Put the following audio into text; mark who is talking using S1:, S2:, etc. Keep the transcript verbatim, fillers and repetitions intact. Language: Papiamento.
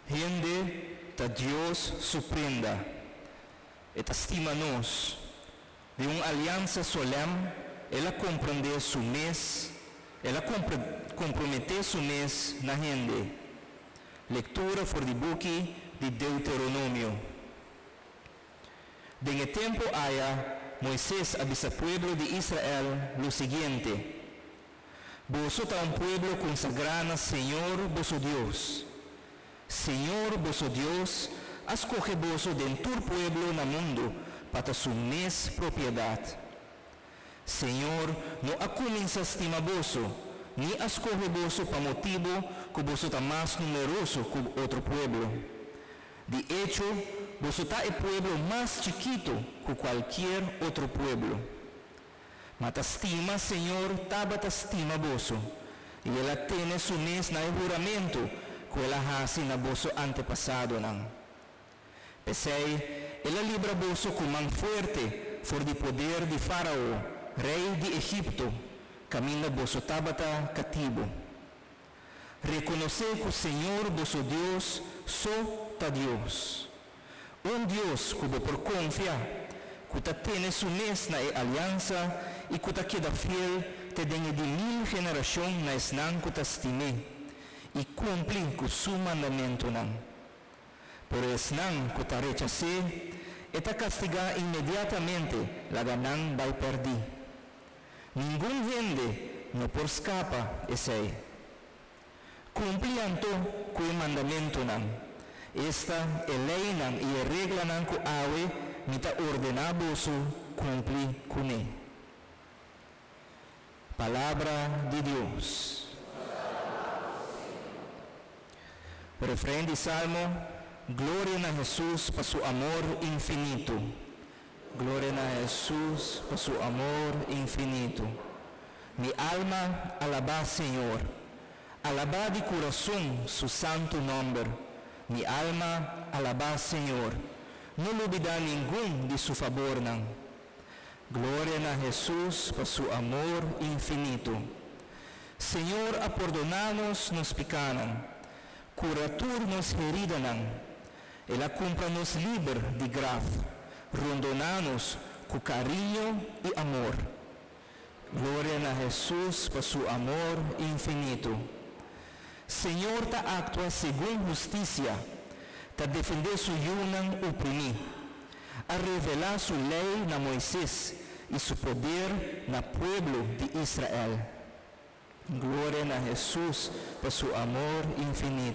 S1: Hende ta Dios su prenda. E ta stima nos. Den un aliansa solèm El a komprondé su mes, El a komprometé su mes na hende. Lektura for di buki di Deuteronomio. Den e tempu aya Moises a bisa pueblo di Israel lo siguiente, Boso ta un pueblo konsagrá na señor boso Dios. Señor boso Dios a skohe boso den tur pueblo na mundu pa ta su mes propiedat. Señor no a kuminsá stima boso ni a skohe boso pa motibu ku boso ta mas numeroso ku otro pueblo. Di echo, boso ta e pueblo mas chikitu ku kualkier otro pueblo. Ma ta stima señor tabata stima boso, i el a tene su mes na e huramentu ku el a hasi na boso antepasadonan. P'esei, el a libra boso ku man fuerte for di poder di Fárao, rei di Egipto, kaminda boso tabata katibu. Rekonosé ku señor boso Dios so ta Dios. Un Dios ku bo por konfia, ku ta tene su mes na e aliansa i ku ta keda fiel te den e di mil generashon na esnan ku ta stim'é i kumpli ku su mandamentunan. Pero esnan ku ta rechas'é, e ta kastigá inmediatamente laga nan bai pèrdí. Ningun hende no por skapa esei. Kumpli anto ku e mandamentunan, esta, e leinan i e reglanan ku awe mi ta ordená boso kumpli kuné. Palabra di Dios. Refrein di Salmo, Gloria na Hesus pa su amor infinito. Gloria na Hesus pa su amor infinito. Mi alma, alabá Señor. Alabá di kurason su santu nòmber. Mi alma, alabá Señor. No lubidá ningun di su fabornan. Gloria na Hesus pa su amor infinito. Señor a pordoná nos nos pikánan, kura tur nos heridanan. El a kumpra nos liber di graf, rondoná nos ku kariño i amor. Gloria na Hesus pa su amor infinito. Señor ta aktua segun hustisia, ta defendé su yunan oprimí. A revelá su lei na Moises i su poder na pueblo di Israel. Gloria na Hesus pa su amor infinito.